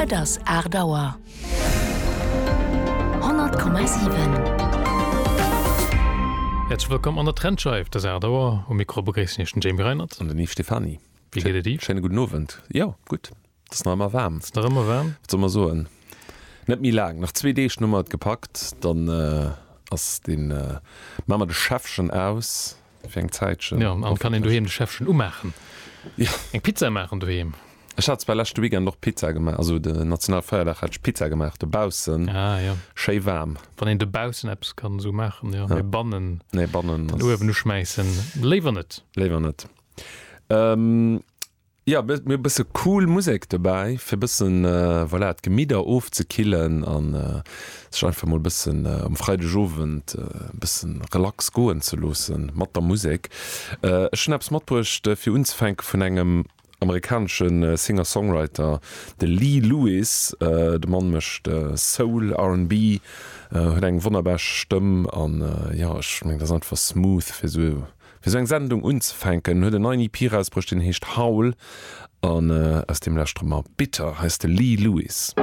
Et ass 8 Auer. 100,7. Häerzlech wëllkomm an der Trendscheif. Et ass 8 Auer. Um Mikro begréissen Iech den Jamie Reinert. An den Yves Stephany. Wéi geet et Yves? Schéine gudden Owend. Jo, gutt. Et ass nach ëmmer waarm. Et ass nach ëmmer waarm. Wat soll mer soen? Net méi laang. Nach zwee Deeg hu mer et gepackt. Dann ass deen, maache mer de Schäffchen aus. Fir eng Zäitchen. Jo, an kann een doheem de Schäffchen umaachen. Jo. Eng Pizza maachen doheem. Ech hat zwar leschte Weekend och Pizza gemaach, also de Nationalfeierdag hat ech Pizza gemaach dobaussen. Ah jo. Schéi waarm. Wann een dobaussen eppes kann esou maachen, jo. Mee bannen. Nee, bannen ass. Den Uewen uschmäissen, léiwer net. Léiwer net. Jo, mir hu bësse cool Musek dobäi, fir bëssen, voilà, d'Gemidder ofzekillen an sech einfach mol bëssen um Freidegowend e bëssen relax goen ze loossen mat der Musek. Ech hunn eppes matbruecht fir unzefänke vun engem amerikanesche Singer-Songwriter, de Lee Lewis. De Mann mécht Soul, R&B, huet eng wonnerbar Stëmm an jo, ech mengen, dat ass einfach smooth fir esou Fir sou eng Sendung unzefänken huet en neien EP rausbruecht, deen heescht Howl an aus deem lauschtere mer Bitter. Hei ass de Lee Lewis.